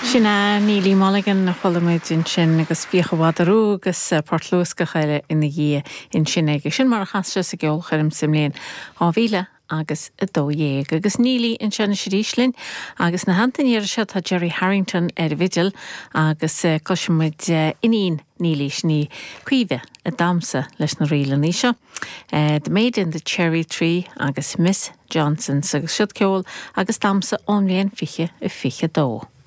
Sin é Neilí Mulligan a chuala muid ansin agus Fiacha Mhadadh Rua agus port luascach eile ina dhiaidh ansin aige. Sin mar a chas sé sa gceolchoirm sa mbliain 2000 agus 12. Agus Neilí anseo anois arís linn agus ina theannta an iarraidh seo tá Gerry Harrington ar an bhfidil agus cloisfidh muid iníon Neilí, sin í Caoimhe, ag damhsa leis na ríleanna seo, The Maid in the Cherry Tree agus Miss Johnson's agus siod ceol agus damhsa ón mbliain 2022.